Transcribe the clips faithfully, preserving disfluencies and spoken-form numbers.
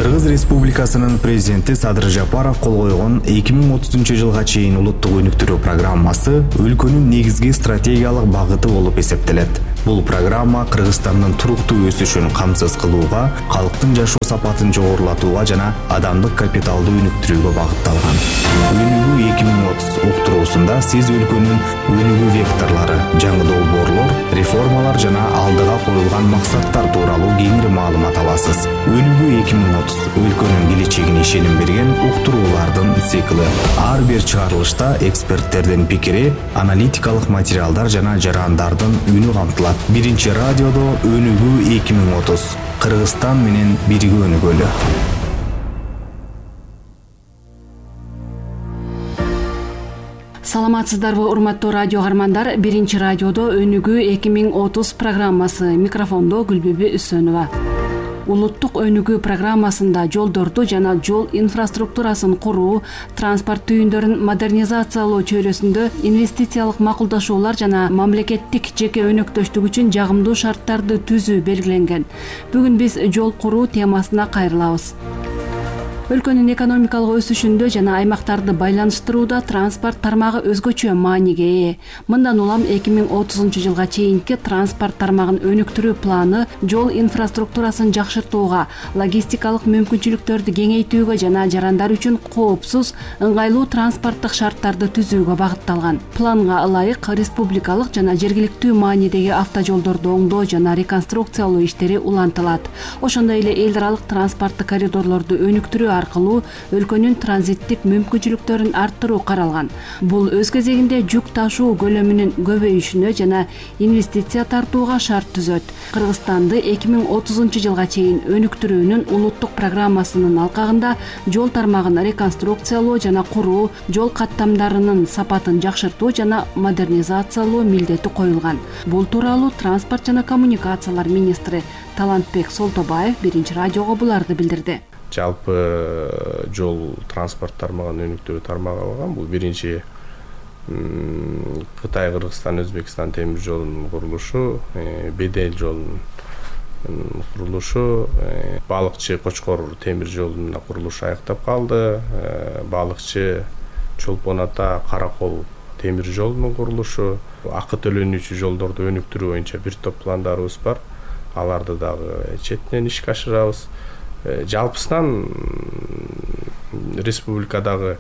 Кыргыз Республикасынын президенти Садыр Жапаров кол койгон эки миң отузунчу жылга чейин улуттук өнүктүрүү программасы өлкөнүн негизги стратегиялык багыты болуп эсептелет. Бул программа Кыргызстандын туруктуу өсүшүн камсыз кылууга, калктын жашоо сапатын жогорулатууга жана адамдык капиталды өнүктүрүүгө багытталган. Өнүгүү эки миң отуз уктуруусунда сиз өлкөнүн өнүгүү векторлору, жаңы долбоорлор, реформалар жана алдыга коюлган максаттар тууралуу кеңири маалымат аласыз. Өнүгүү эки миң отуз өлкөнүн келечегине ишеним берген уктуруулардын циклы. Ар бир чыгарылышта эксперттердин пикири, аналитикалык материалдар жана жарандардын үнү камтылат. Биринчи радиодо Өнүгүү эки миң отуз. Кыргызстан менен бирге өнүгөлү. Саламатсыздарбы, урматтуу радио каармандар. Биринчи радиодо Өнүгүү эки миң отуз программасы. Микрофондо Гүлбүбү Үсөнова. Улуттук өнүгүү программасында жолдорду жана жол инфраструктурасын куруу, транспорт түйүндөрүн модернизациялоо чөйрөсүндө инвестициялык макулдашуулар жана мамлекеттик жеке өнөктөштүк үчүн жагымдуу шарттарды түзүү белгиленген. Бүгүн биз жол куруу темасына кайрылабыз. Өлкөнүн экономикалык өсүшүндө жана аймактарды байланыштырууда транспорт тармагы өзгөчө мааниге ээ. Мындан улам эки миң отузунчу жылга чейинки транспорт тармагын өнүктүрүү планы жол инфраструктурасын жакшыртууга, логистикалык мүмкүнчүлүктөрдү кеңейтүүгө жана жарандар үчүн коопсуз, ыңгайлуу транспорттук шарттарды түзүүгө багытталган. Планга ылайык республикалык жана жергиликтүү маанидеги автожолдорду оңдоо жана реконструкциялоо иштери улантылат. Ошондой эле эл аралык транспорттук коридорлорду өнүктүрүү аркылуу өлкөнүн транзиттик мүмкүнчүлүктөрүн арттыруу каралган. Бул өз кезегинде жүк ташуу көлөмүнүн көбөйүшүнө жана инвестиция тартууга шарт түзөт. Кыргызстанды эки миң отузунчу жылга чейин өнүктүрүүнүн улуттук программасынын алкагында жол тармагын реконструкциялоо жана куруу, жол каттамдарынын сапатын жакшыртуу жана модернизациялоо милдети коюлган. Бул тууралуу транспорт жана коммуникациялар министри Талантбек Солтобаев биринчи радиого буларды билдирди. Жалпы жол транспорт тармагын өнүктүрүү тармагы алган. Бул биринчи Кытай, Кыргызстан, Өзбекстан темир жолунун курулушу, Бедел жолунун курулушу, Балыкчы Кочкор темир жолунун курулушу аяктап калды. Балыкчы Чолпон Ата Каракол темир жолунун курулушу, акы төлөнүүчү жолдорду өнүктүрүү боюнча бир топ пландарыбыз бар. Аларды дагы четинен ишке ашырабыз. Жалпысынан республикадагы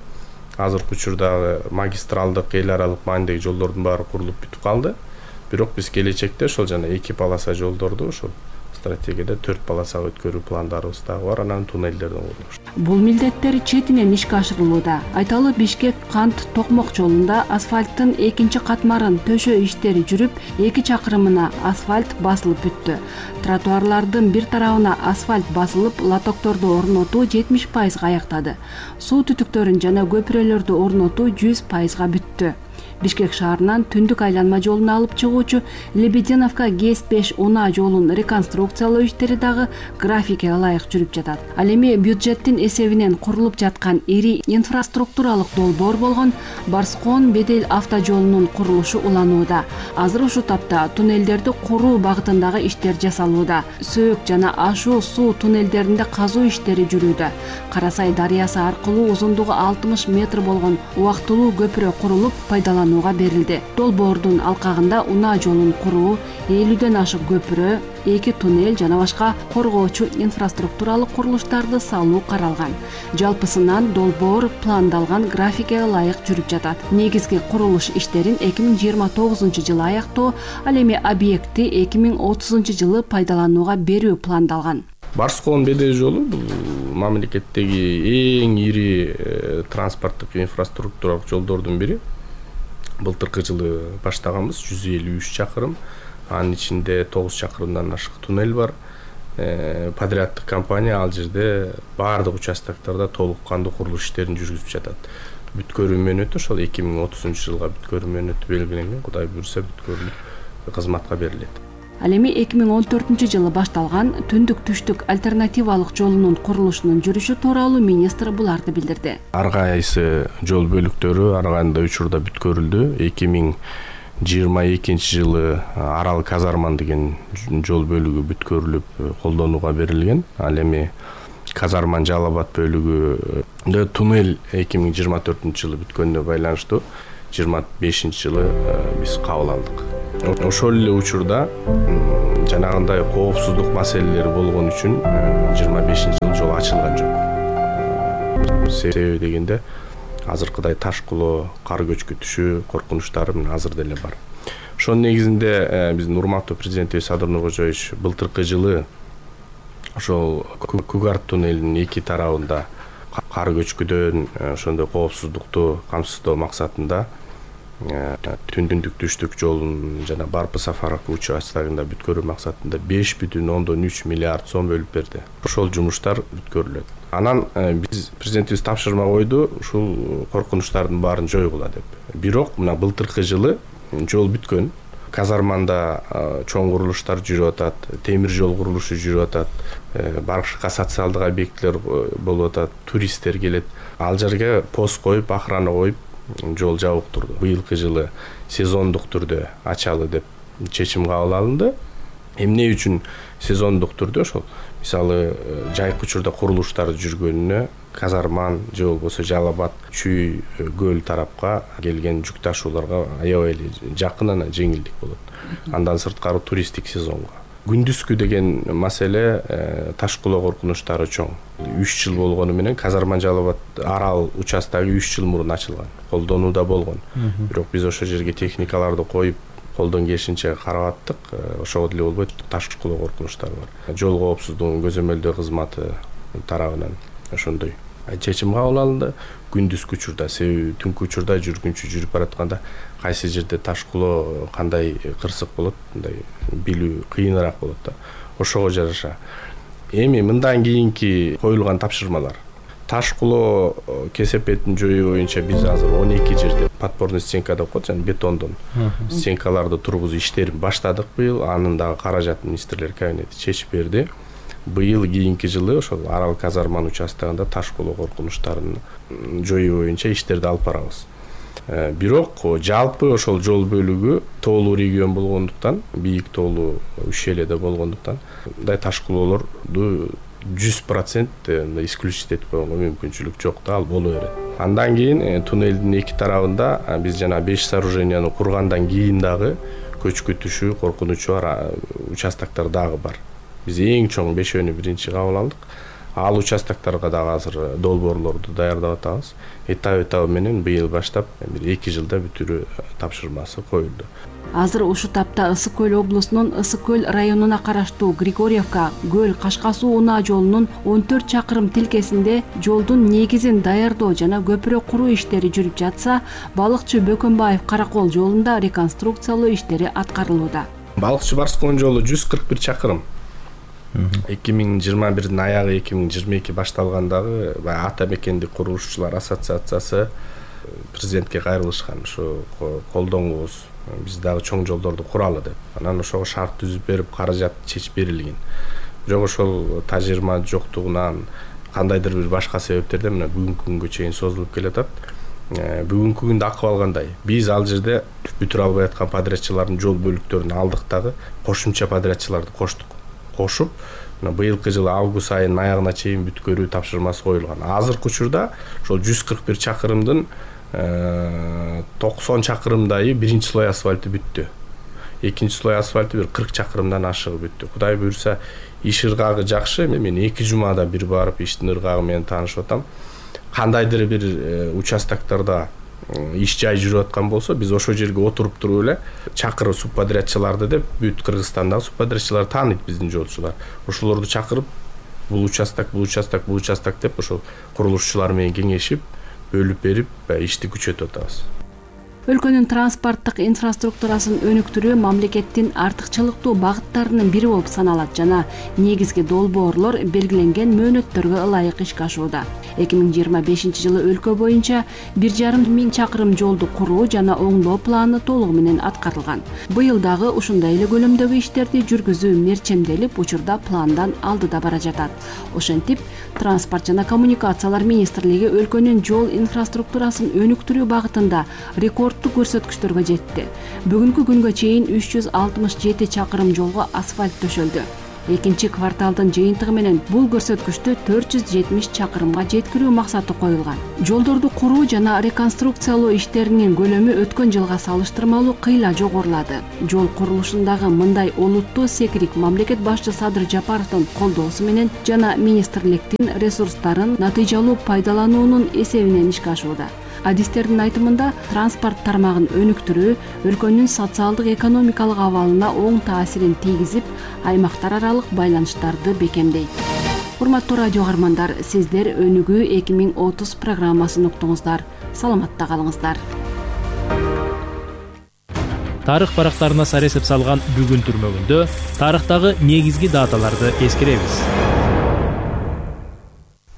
азыркы учурдагы магистралдык эл аралык маанидеги жолдордун баары курулуп бүтүп калды. Бирок биз келечекте ошол жана эки полоса жолдорду ошол стратегияда төрт полосага өткөрүү пландарыбыз дагы бар, анан туннелдердин курулушу. Бул милдеттер четинен ишке ашырылууда. Айталы, Бишкек Кант Токмок жолунда асфальттын экинчи катмарын төшөө иштери жүрүп, эки чакырымына асфальт басылып бүттү. Тротуарлардын бир тарабына асфальт басылып, лотокторду орнотуу жетимиш пайызга аяктады. Суу түтүктөрүн жана көпүрөлөрдү орнотуу жүз пайызга бүттү. Бишкек шаарынан түндүк айланма жолуна алып чыгуучу Лебединовка ГЭС беш унаа жолун реконструкциялоо иштери дагы графикке ылайык жүрүп жатат. Ал эми бюджеттин эсебинен курулуп жаткан ири инфраструктуралык долбоор болгон Барскон Бедел автожолунун курулушу уланууда. Азыр ушул тапта туннелдерди куруу багытындагы иштер жасалууда. Сөөк жана ашуу суу туннелдеринде казуу иштери жүрүүдө. Карасай дарыясы аркылуу узундугу алтымыш метр болгон убактылуу көпүрө курулуп пайдаланууга берилди. Долбоордун алкагында унаа жолун куруу, элүүдөн ашык көпүрө, эки туннель жана башка коргоочу инфраструктуралык курулуштарды салуу каралган. Жалпысынан долбоор пландалган графикке ылайык жүрүп жатат. Негизги курулуш иштерин эки миң жыйырма тогузунчу жылы аяктоо, ал эми объектти эки миң отузунчу жылы пайдаланууга берүү пландалган. Барскон Бедел жолу бул мамлекеттеги эң ири транспорттук инфраструктуралык жолдордун бири. Былтыркы жылы баштаганбыз, жүз элүү үч чакырым. Анын ичинде тогуз чакырымдан ашык туннель бар. Подряддык компания ал жерде баардык участоктарда толук кандуу курулуш иштерин жүргүзүп жатат. Бүткөрүү мөөнөтү ошол эки миң отузунчу жылга бүткөрүү мөөнөтү белгиленген. Кудай буйрса бүткөрүлүп кызматка берилет. Ал эми эки миң он төртүнчү жылы башталган түндүк түштүк альтернативалык жолунун курулушунун жүрүшү тууралуу министр буларды билдирди. Ар кайсы жол бөлүктөрү ар кандай учурда бүткөрүлдү. эки миң жыйырма экинчи жылы Арал Казарман деген жол бөлүгү бүткөрүлүп колдонууга берилген. Ал эми Казарман Жалал Абад бөлүгү туннель эки миң жыйырма төртүнчү жылы бүткөнүнө байланыштуу жыйырма бешинчи жылы биз кабыл алдык. Ошол эле учурда жанагындай коопсуздук маселелери болгон үчүн жыйырма бешинчи жылы жол ачылган жок. Себеби дегенде азыркыдай таш кулоо, кар көчкүтүшү коркунучтары мына азыр деле бар. Ошонун негизинде биздин урматтуу президентибиз Садыр Нуркожоевич былтыркы жылы ошол Күгарт туннелинин эки тарабында кар көчкүдөн ошондой коопсуздукту камсыздоо максатында түндүк түштүк жолун жана Барпы Сафаровка участогунда бүткөрүү максатында беш бүтүн ондон үч миллиард сом бөлүп берди. Ошол жумуштар бүткөрүлөт. Анан биз президентибиз тапшырма койду ушул коркунучтардын баарын жойгула деп. Бирок мына былтыркы жылы жол бүткөн. Казарманда чоң курулуштар жүрүп атат, темир жол курулушу жүрүп атат, башка социалдык объектилер болуп атат, туристтер келет. Ал жерге пост коюп, охрана коюп жол жабык турду. Быйылкы жылы сезондук түрдө ачалы деп чечим кабыл алынды. Эмне үчүн сезондук түрдө ошол мисалы жайкы учурда курулуштар жүргөнүнө Казарман же болбосо Жалал Абад Чүй көл тарапка келген жүк ташууларга аябай эле жакын анан жеңилдик болот. Андан сырткары туристтик сезонго. Күндүзгү деген маселе таш кулоо коркунучтары чоң. үч жыл болгону менен Казарман Жалал Абад арал участогу үч жыл мурун ачылган. Колдонууда болгон. Бирок биз ошол жерге техникаларды коюп колдон келишинче карап аттык. Ошого деле болбойт, таш кулоо коркунучтары бар. Жол коопсуздугун көзөмөлдөө кызматы тарабынан ошондой чечим кабыл алынды. Күндүзгү учурда, себеби түнкү учурда жүргүнчү жүрүп баратканда кайсы жерде таш кулоо кандай кырсык болот, мындай билүү кыйыныраак болот да. Ошого жараша. Эми мындан кийинки коюлган тапшырмалар. Таш кулоо кесепетин жоюу боюнча биз азыр он эки жерде подпорный стенка деп коет, жана бетондон стенкаларды тургузуу иштерин баштадык быйыл. Анын дагы каражатын министрлер кабинети чечип берди. Быйыл кийинки жылы ошол арал Казарман участогунда таш кулоо коркунучтарын жоюу боюнча иштерди алып барабыз. Бирок жалпы ошол жол бөлүгү тоолуу регион болгондуктан, бийик тоолуу ущельеде болгондуктан мындай таш кулоолорду жүз процент исключить этип койгонго мүмкүнчүлүк жок да, ал боло берет. Андан кийин туннелдин эки тарабында биз жана беш сооруженияны кургандан кийин дагы көчкүтүшү, коркунучу бар участоктор дагы бар. Биз эң чоң бешөөнү биринчи кабыл алдык. Ал участокторго дагы азыр долбоорлорду даярдап атабыз. Этап-этабы менен быйыл баштап бир эки жылда бүтүрүү тапшырмасы коюлду. Азыр ушул тапта Ысык көл облусунун Ысык көл районуна караштуу Григорьевка Көл Кашка суу унаа жолунун он төрт чакырым тилкесинде жолдун негизин даярдоо жана көпүрө куруу иштери жүрүп жатса, Балыкчы Бөкөнбаев Каракол жолунда реконструкциялоо иштери аткарылууда. Балыкчы Барскон жолу жүз кырк бир чакырым. эки миң жыйырма бирдин аягы эки миң жыйырма эки башталгандагы Ата мекендик курулушчулар ассоциациясы президентке кайрылышкан, ушу колдоңуңуз, биз дагы чоң жолдорду куралы деп. Анан ошого шарт түзүп берип, каражат чечип берилген. Бирок ошол тажырма жоктугунан кандайдыр бир башка себептерден мына бүгүнкү күнгө чейин созулуп келатат. Бүгүнкү күндө акыбал кандай? Биз ал жерде бүтүрө албай аткан подрядчылардын жол бөлүктөрүн алдык дагы кошумча подрядчыларды коштук. Кошуп, быйылкы жылы август айынын аягына чейин бүткөрүү тапшырмасы коюлган. Азыркы учурда ошол жүз кырк бир чакырымдын токсон чакырымдайы биринчи слой асфальты бүттү. Экинчи слой асфальты бир кырк чакырымдан ашыгы бүттү. Кудай буйрса, иш ыргагы жакшы. Мен эки жумада бир барып иштин ыргагы менен таанышып атам. Кандайдыр бир участоктордо иш жай жүрүп аткан болсо, биз ошол жерге отуруп туруп эле чакырып субподрядчыларды деп, бүт Кыргызстандагы субподрядчылар тааныйт биздин жолчулар. Ошолорду чакырып, бул участок, бул участок, бул участок деп ошол курулушчулар менен кеңешип, бөлүп берип, ишти күчөтүп атабыз. Өлкөнүн транспорттук инфраструктурасын өнүктүрүү мамлекеттин артыкчылыктуу багыттарынын бири болуп саналат жана негизги долбоорлор белгиленген мөөнөттөргө ылайык ишке ашууда. эки миң жыйырма бешинчи жылы өлкө боюнча бир жарым миң чакырым жолду куруу жана оңдоо планы толугу менен аткарылган. Быйыл дагы ушундай эле көлөмдөгү иштерди жүргүзүү мерчемделип, учурда пландан алдыда бара жатат. Ошентип, Транспорт жана коммуникациялар министрлиги өлкөнүн жол инфраструктурасын өнүктүрүү багытында рекордтуу көрсөткүчтөргө жетти. Бүгүнкү күнгө чейин үч жүз алтымыш жети чакырым жолго асфальт төшөлдү. Экинчи кварталдын жыйынтыгы менен бул көрсөткүчтү төрт жүз жетимиш чакырымга жеткирүү максаты коюлган. Жолдорду куруу жана реконструкциялоо иштеринин көлөмү өткөн жылга салыштырмалуу кыйла жогорулады. Жол курулушундагы мындай олуттуу секирик мамлекет башчы Садыр Жапаровдун колдоосу менен жана министрликтин ресурстарын натыйжалуу пайдалануунун эсебинен ишке ашууда. Адистердин айтымында, транспорт тармагын өнүктүрүү өлкөнүн социалдык экономикалык абалына оң таасирин тийгизип, аймактар аралык байланыштарды бекемдейт. Урматтуу радио каармандар, сиздер Өнүгүү эки миң отуз программасын уктуңуздар. Саламатта калыңыздар. Тарых барактарына сар эсеп салган бүгүн түрмөгүндө тарыхтагы негизги даталарды эскеребиз.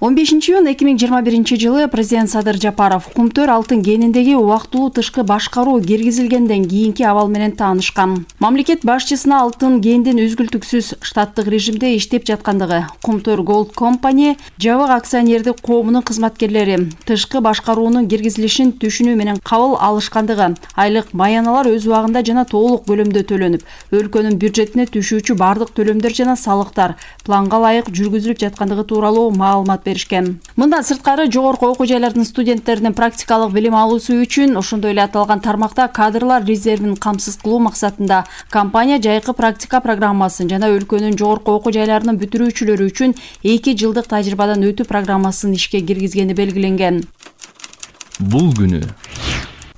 он бешинчи июнь эки миң жыйырма биринчи жылы президент Садыр Жапаров Кумтөр алтын кениндеги убактылуу тышкы башкаруу киргизилгенден кийинки абал менен таанышкан. Мамлекет башчысына алтын кендин үзгүлтүксүз штаттык режимде иштеп жаткандыгы, Кумтөр Gold Company жабык акционердик коомунун кызматкерлери тышкы башкаруунун киргизилишин түшүнүү менен кабыл алышкандыгы, айлык баяналар өз убагында жана толук көлөмдө төлөнүп, өлкөнүн бюджетине түшүүчү бардык төлөмдөр жана салыктар планга ылайык жүргүзүлүп жаткандыгы тууралуу маалымат беришкен. Мындан сырткары жогорку окуу жайлардын студенттеринин практикалык билим алуусу үчүн ошондой эле аталган тармакта кадрлар резервин камсыз кылуу максатында компания жайкы практика программасын жана өлкөнүн жогорку окуу жайларынын бүтүрүүчүлөрү үчүн эки жылдык тажрыйбадан өтүү программасын ишке киргизгени белгиленген. Бул күнү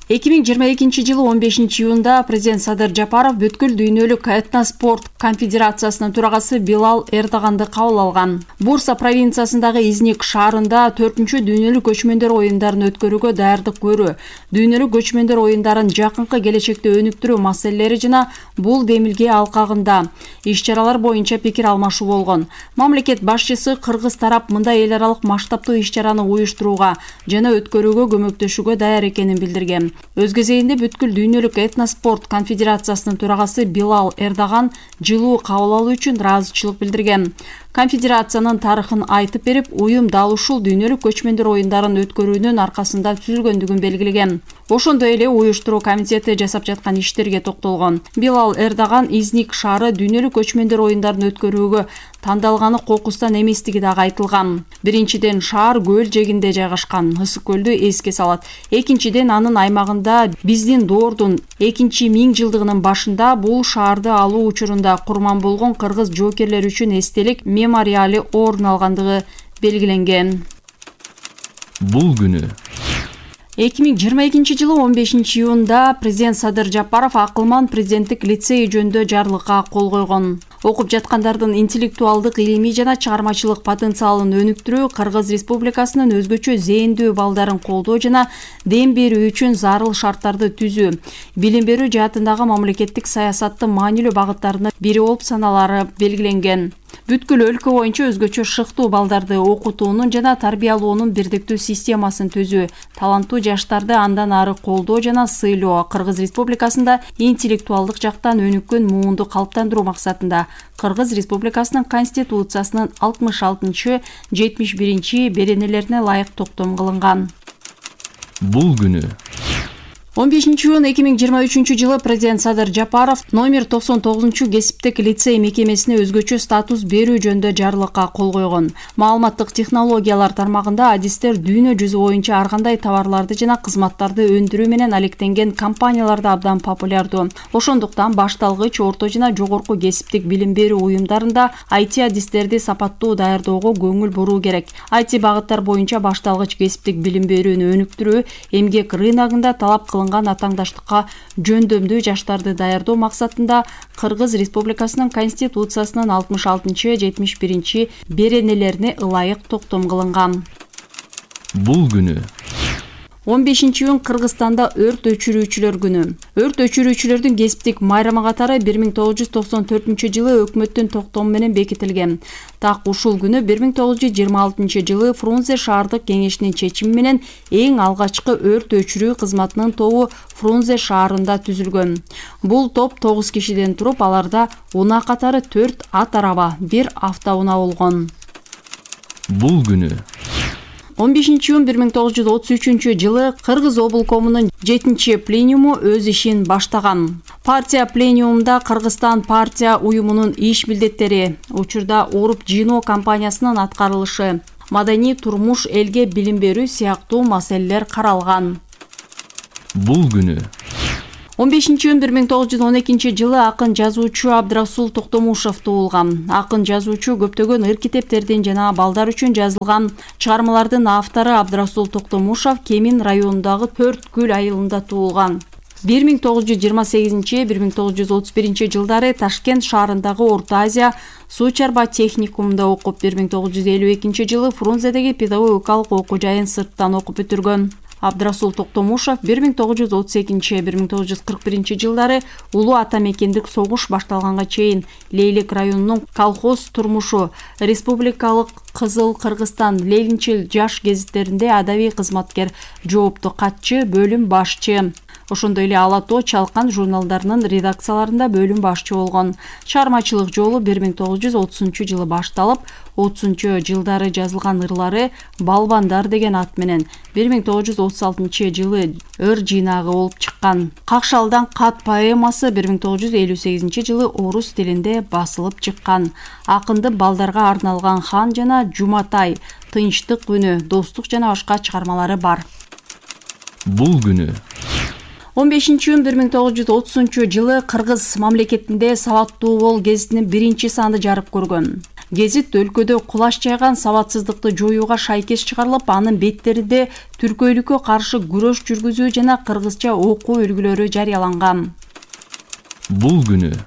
эки миң жыйырма экинчи жылы он бешинчи июнда президент Садыр Жапаров бүткүл дүйнөлүк этноспорт конфедерациясынын төрагасы Билал Эрдаганды кабыл алган. Бурса провинциясындагы Изник шаарында төртүнчү дүйнөлүк көчмөндөр оюндарын өткөрүүгө даярдык көрүү, дүйнөлүк көчмөндөр оюндарын жакынкы келечекте өнүктүрүү маселелери жана бул демилге алкагында иш-чаралар боюнча пикир алмашуу болгон. Мамлекет башчысы кыргыз тарап мындай эл аралык масштабтуу иш-чараны уюштурууга жана өткөрүүгө көмөктөшүүгө даяр экенин билдирген. Өз кезегинде бүткүл дүйнөлүк этноспорт конфедерациясынын төрагасы Билал Эрдаган жылуу кабыл алуу үчүн ыраазычылык билдирген. Конфедерациянын тарыхын айтып берип, уюм дал ушул дүйнөлүк көчмөндөр оюндарын өткөрүүнүн аркасында түзүлгөндүгүн белгилеген. Ошондой эле уюштуруу комитети жасап жаткан иштерге токтолгон. Билал Эрдаган Изник шаары дүйнөлүк көчмөндөр оюндарын өткөрүүгө тандалганы кокустан эместиги дагы айтылган. Биринчиден, шаар көл жээгинде жайгашкан, ысык көлдү эске салат. Экинчиден, анын аймагында биздин доордун экинчи миң жылдыгынын башында бул шаарды алуу учурунда курман болгон кыргыз жоокерлери үчүн эстелик мемориали орун алгандыгы белгиленген. Бул күнү эки миң жыйырма экинчи жылы он бешинчи июнда президент Садыр Жапаров Акылман президенттик лицей жөнүндө жарлыкка кол койгон. Окуп жаткандардын интеллектуалдык, илимий жана чыгармачылык потенциалын өнүктүрүү, Кыргыз Республикасынын өзгөчө зээндүү балдарын колдоо жана дем берүү үчүн зарыл шарттарды түзүү, билим берүү жаатындагы мамлекеттик саясаттын маанилүү багыттарынын бири болуп саналары белгиленген. Бүткүл өлкө боюнча өзгөчө шыктуу балдарды окутуунун жана тарбиялоонун бирдиктүү системасын түзүү, таланттуу жаштарды андан ары колдоо жана сыйлоо, Кыргыз Республикасында интеллектуалдык жактан өнүккөн муунду калыптандыруу максатында Кыргыз Республикасынын Конституциясынын алтымыш алтынчы жетимиш биринчи беренелерине ылайык токтом кылынган. Бул күнү он бешинчи июнь эки миң жыйырма үчүнчү жылы президент Садыр Жапаров номер токсон тогузунчу кесиптик лицей мекемесине өзгөчө статус берүү жөнүндө жарлыкка кол койгон. Маалыматтык технологиялар тармагында адистер дүйнө жүзү боюнча ар кандай товарларды жана кызматтарды өндүрүү менен алектенген компанияларда абдан популярдуу. Ошондуктан башталгыч, орто жана жогорку кесиптик билим берүү уюмдарында ай ти адистерди сапаттуу даярдоого көңүл буруу керек. ай ти багыттар боюнча башталгыч кесиптик билим берүүнү өнүктүрүү, эмгек рыногунда талап кылынган атаңдаштыкка жөндөмдүү жаштарды даярдоо максатында Кыргыз Республикасынын Конституциясынын алтымыш алтынчы жетимиш биринчи беренелерине ылайык токтом кылынган. Бул күнү он бешинчи июнь Кыргызстанда өрт өчүрүүчүлөр күнү. Өрт өчүрүүчүлөрдүн кесиптик майрама катары бир миң тогуз жүз токсон төртүнчү жылы өкмөттүн токтому менен бекитилген. Так ушул күнү бир миң тогуз жүз жыйырма алтынчы жылы Фрунзе шаардык кеңешинин чечими менен эң алгачкы өрт өчүрүү кызматынын тобу Фрунзе шаарында түзүлгөн. Бул топ тогуз кишиден туруп, аларда унаа катары төрт ат араба, бир автоунаа болгон. Бул күнү он бешинчи июнь бир миң тогуз жүз отуз үчүнчү жылы Кыргыз облкомунун жетинчи пленуму өз ишин баштаган. Партия пленумунда Кыргызстан партия уюмунун иш милдеттери, учурда уруп жыйноо кампаниясынын аткарылышы, маданий турмуш, элге билим берүү сыяктуу маселелер каралган. Бул күнү он бешинчи июнь бир миң тогуз жүз он экинчи жылы акын жазуучу Абдрасул Токтомушев туулган. Акын жазуучу көптөгөн ыр китептердин жана балдар үчүн жазылган чыгармалардын автору Абдрасул Токтомушев Кемин районундагы төрт гүл айылында туулган. бир миң тогуз жүз жыйырма сегизинчи — бир миң тогуз жүз отуз биринчи жылдары Ташкент шаарындагы Орто Азия суу чарба техникумунда окуп, бир миң тогуз жүз элүү экинчи жылы Фрунзедеги педагогикалык окуу жайын сырттан окуп бүтүргөн. Абдрасул Токтомушев бир миң тогуз жүз отуз экинчи — бир миң тогуз жүз кырк биринчи жылдары улуу ата мекендик согуш башталганга чейин Лейлик районунун колхоз турмушу, республикалык Кызыл Кыргызстан, Лейлинчил жаш гезиттеринде адабий кызматкер, жоопту катчы, бөлүм башчы. Ошондой эле Ала тоо, Чалкан журналдарынын редакцияларында бөлүм башчы болгон. Чыгармачылык жолу бир миң тогуз жүз отузунчу жылы башталып, отузунчу жылдары жазылган ырлары Балбандар деген ат менен бир миң тогуз жүз отуз алтынчы жылы ыр жыйнагы болуп чыккан. Какшалдан кат поэмасы бир миң тогуз жүз элүү сегизинчи жылы орус тилинде басылып чыккан. Акындын балдарга арналган Хан жана Жуматай, Тынчтык күнү, Достук жана башка чыгармалары бар. Бул күнү он бешинчи июнь бир миң тогуз жүз отузунчу жылы Кыргыз мамлекетинде Сабаттуу бол гезитинин биринчи саны жарык көргөн. Гезит өлкөдө кулаш жайган сабатсыздыкты жоюуга шайкеш чыгарылып, анын беттеринде түркөйлүккө каршы күрөш жүргүзүү жана кыргызча окуу үлгүлөрү жарыяланган. Бул күнү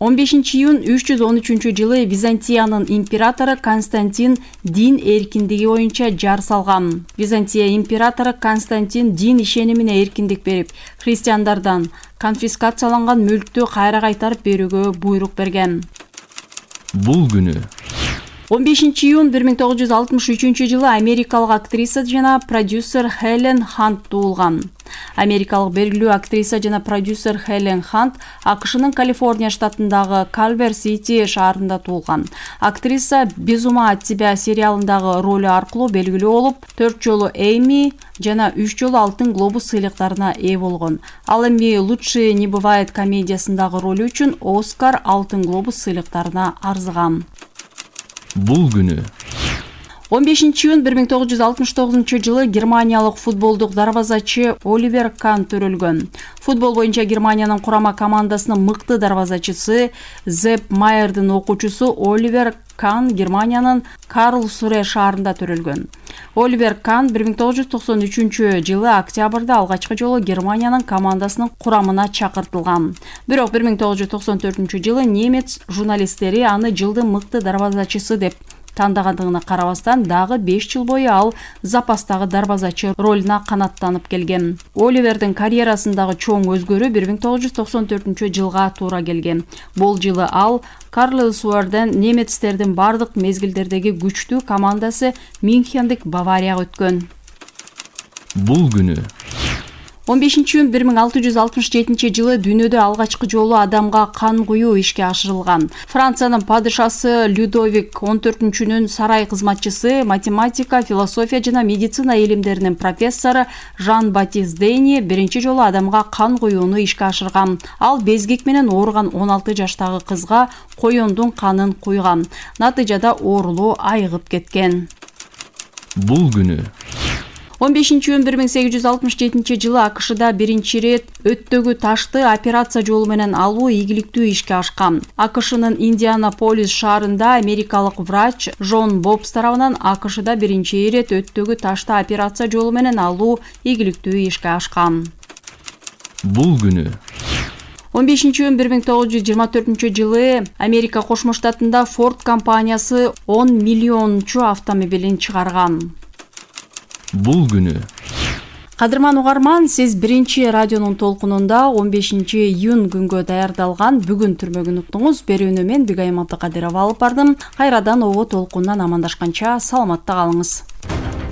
он бешинчи июнь үч жүз он үчүнчү жылы Византиянын императору Константин дин эркиндиги боюнча жар салган. Византия императору Константин дин ишенимине эркиндик берип, христиандардан конфискацияланган мүлктү кайра кайтарып берүүгө буйрук берген. Бул күнү он бешинчи июнь бир миң тогуз жүз алтымыш үчүнчү жылы америкалык актриса жана продюсер Хелен Хант туулган. Америкалык белгилүү актриса жана продюсер Хелен Хант АКШнын Калифорния штатындагы Калвер-Сити шаарында туулган. Актриса «Без ума от тебя» сериалындагы ролу аркылуу белгилүү болуп, төрт жолу Эми жана үч жолу Алтын глобус сыйлыктарына ээ болгон. Ал эми «Лучше не бывает» комедиясындагы ролу үчүн Оскар, Алтын глобус сыйлыктарына арзыган. Бул күнү он бешинчи июнь бир миң тогуз жүз алтымыш тогузунчу жылы германиялык футболдук дарбазачы Оливер Кан төрөлгөн. Футбол боюнча Германиянын курама командасынын мыкты дарбазачысы, Зепп Майердин окуучусу Оливер Кан Германиянын Карлсруэ шаарында төрөлгөн. Оливер Кан бир миң тогуз жүз токсон үчүнчү жылы октябрда алгачкы жолу Германиянын командасынын курамына чакыртылган. Бирок бир миң тогуз жүз токсон төртүнчү жылы немец журналисттери аны жылдын мыкты дарбазачысы деп тандагандыгына карабастан, дагы беш жыл бою ал запастагы дарбазачы ролуна канаттанып келген. Оливердин карьерасындагы чоң өзгөрүү бир миң тогуз жүз токсон төртүнчү жылга туура келген. Бул жылы ал Карлсруэден немецтердин бардык мезгилдердеги күчтүү командасы Мюнхендик Баварияга өткөн. Бул күнү он бешинчи июнь бир миң алты жүз алтымыш жетинчи жылы дүйнөдө алгачкы жолу адамга кан куюу ишке ашырылган. Франциянын падышасы Людовик он төртүнчүнүн сарай кызматчысы, математика, философия жана медицина илимдеринин профессору Жан-Батист Дейни биринчи жолу адамга кан куюуну ишке ашырган. Ал безгек менен ооруган он алты жаштагы кызга коёндун канын куйган. Натыйжада оорулуу айыгып кеткен. Бул күнү он бешинчи июнь бир миң сегиз жүз алтымыш жетинчи жылы АКШда биринчи ирет өттөгү ташты операция жолу менен алуу ийгиликтүү ишке ашкан. АКШнын Индианаполис шаарында америкалык врач Жон Бобс тарабынан АКШда биринчи ирет өттөгү ташты операция жолу менен алуу ийгиликтүү ишке ашкан. Бул күнү он бешинчи июнь бир миң тогуз жүз жыйырма төртүнчү жылы Америка Кошмо Штатында Ford компаниясы он миллиончу автомобилин чыгарган. Бул күнү Кадырман угарман, сиз биринчи радионун толкунунда он бешинчи июнь күнгө даярдалган бүгүн түрмөгүн уктуңуз. Берүүнү мен Бигайым Абдыкадырова алып бардым. Кайрадан ого толкундан амандашканча саламатта калыңыз.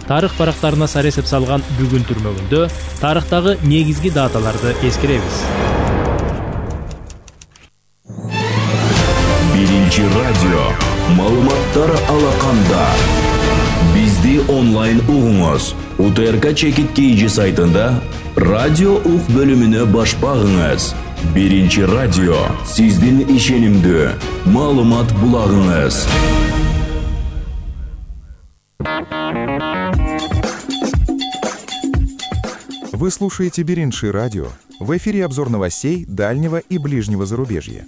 Тарых барактарына сар эсеп салган бүгүн түрмөгүндө тарыхтагы негизги даталарды эскеребиз. Биринчи радио маалыматтар алаканда. Бизди онлайн угуңуз. УТРК чекит кийджи сайтында радио ук бөлүмүнө баш багыңыз. Биринчи радио сиздин ишенимдүү маалымат булагыңыз. Вы слушаете Биринчи радио. В эфире обзор новостей дальнего и ближнего зарубежья.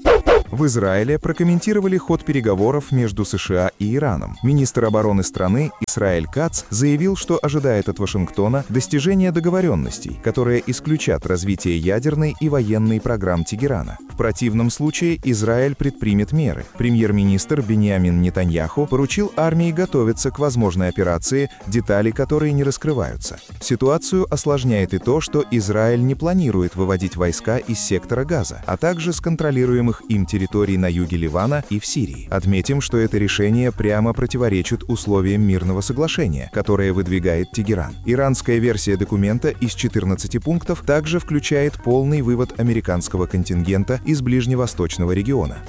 В Израиле прокомментировали ход переговоров между США и Ираном. Министр обороны страны Исраэль Кац заявил, что ожидает от Вашингтона достижения договоренностей, которые исключат развитие ядерной и военной программ Тегерана. В противном случае Израиль предпримет меры. Премьер-министр Биньямин Нетаньяху поручил армии готовиться к возможной операции, детали которой не раскрываются. Ситуацию осложняет и то, что Израиль не планирует выводить войска из сектора Газа, а также с контролируемых им территорий территорий на юге Ливана и в Сирии. Отметим, что это решение прямо противоречит условиям мирного соглашения, которое выдвигает Тегеран. Иранская версия документа из четырнадцати пунктов также включает полный вывод американского контингента из ближневосточного региона.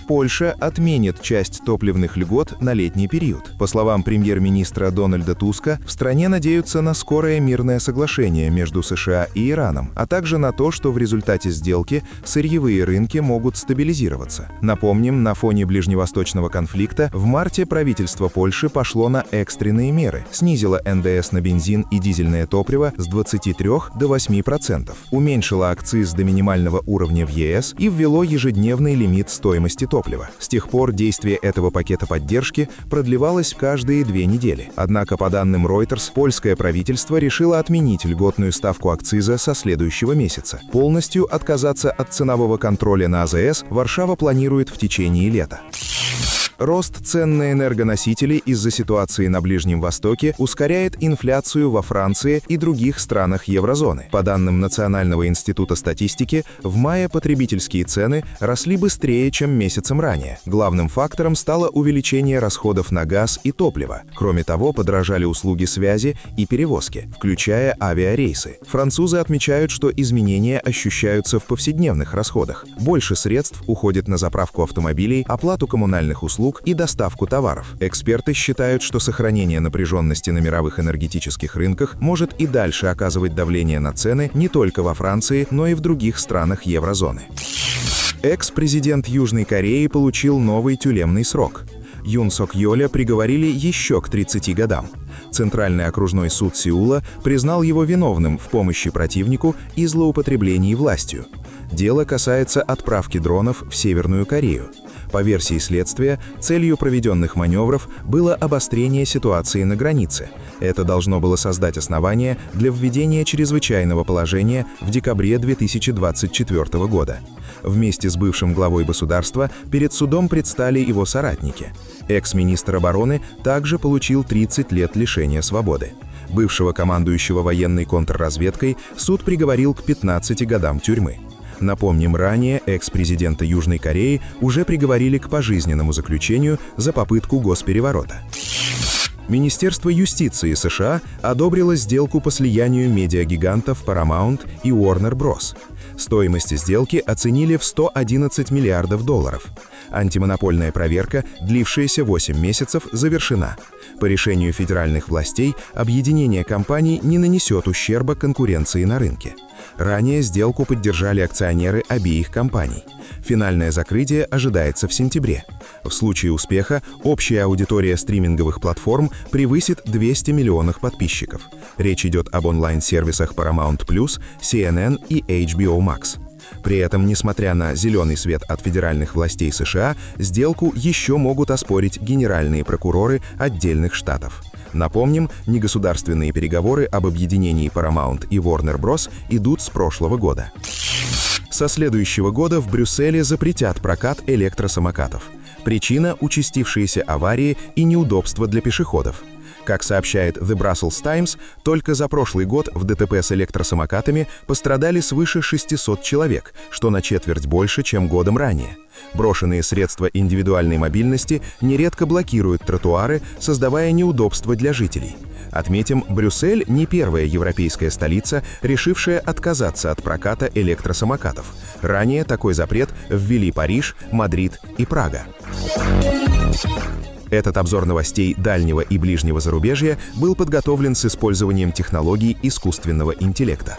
Польша отменит часть топливных льгот на летний период. По словам премьер-министра Дональда Туска, в стране надеются на скорое мирное соглашение между США и Ираном, а также на то, что в результате сделки сырьевые рынки могут стабилизироваться. Напомним, на фоне ближневосточного конфликта в марте правительство Польши пошло на экстренные меры, снизило эн дэ эс на бензин и дизельное топливо с двадцати трёх до восьми процентов, уменьшило акциз до минимального уровня в е эс и ввело ежедневный лимит стоимости топлива. С тех пор действие этого пакета поддержки продлевалось каждые две недели. Однако, по данным Reuters, польское правительство решило отменить льготную ставку акциза со следующего месяца. Полностью отказаться от ценового контроля на а зэ эс Варшава планирует в течение лета. Рост цен на энергоносители из-за ситуации на Ближнем Востоке ускоряет инфляцию во Франции и других странах еврозоны. По данным Национального института статистики, в мае потребительские цены росли быстрее, чем месяцем ранее. Главным фактором стало увеличение расходов на газ и топливо. Кроме того, подорожали услуги связи и перевозки, включая авиарейсы. Французы отмечают, что изменения ощущаются в повседневных расходах. Больше средств уходит на заправку автомобилей, оплату коммунальных услуг и доставку товаров. Эксперты считают, что сохранение напряженности на мировых энергетических рынках может и дальше оказывать давление на цены не только во Франции, но и в других странах еврозоны. Экс-президент Южной Кореи получил новый тюремный срок. Юн Сок Йоля приговорили еще к тридцати годам. Центральный окружной суд Сеула признал его виновным в помощи противнику и злоупотреблении властью. Дело касается отправки дронов в Северную Корею. По версии следствия, целью проведенных маневров было обострение ситуации на границе. Это должно было создать основания для введения чрезвычайного положения в декабре две тысячи двадцать четвёртого года. Вместе с бывшим главой государства перед судом предстали его соратники. Экс-министр обороны также получил тридцать лет лишения свободы. Бывшего командующего военной контрразведкой суд приговорил к пятнадцати годам тюрьмы. Напомним, ранее экс-президента Южной Кореи уже приговорили к пожизненному заключению за попытку госпереворота. Министерство юстиции США одобрило сделку по слиянию медиагигантов Paramount и Warner Bros. Стоимость сделки оценили в сто одиннадцать миллиардов долларов. Антимонопольная проверка, длившаяся восемь месяцев, завершена. По решению федеральных властей, объединение компаний не нанесет ущерба конкуренции на рынке. Ранее сделку поддержали акционеры обеих компаний. Финальное закрытие ожидается в сентябре. В случае успеха общая аудитория стриминговых платформ превысит двести миллионов подписчиков. Речь идет об онлайн-сервисах Paramount плюс, си эн эн и эйч би о Max. При этом, несмотря на зеленый свет от федеральных властей США, сделку еще могут оспорить генеральные прокуроры отдельных штатов. Напомним, негосударственные переговоры об объединении Paramount и Warner Bros. Идут с прошлого года. Со следующего года в Брюсселе запретят прокат электросамокатов. Причина – участившиеся аварии и неудобства для пешеходов. Как сообщает The Brussels Times, только за прошлый год в дэ тэ пэ с электросамокатами пострадали свыше шестисот человек, что на четверть больше, чем годом ранее. Брошенные средства индивидуальной мобильности нередко блокируют тротуары, создавая неудобства для жителей. Отметим, Брюссель не первая европейская столица, решившая отказаться от проката электросамокатов. Ранее такой запрет ввели Париж, Мадрид и Прага. Этот обзор новостей дальнего и ближнего зарубежья был подготовлен с использованием технологий искусственного интеллекта.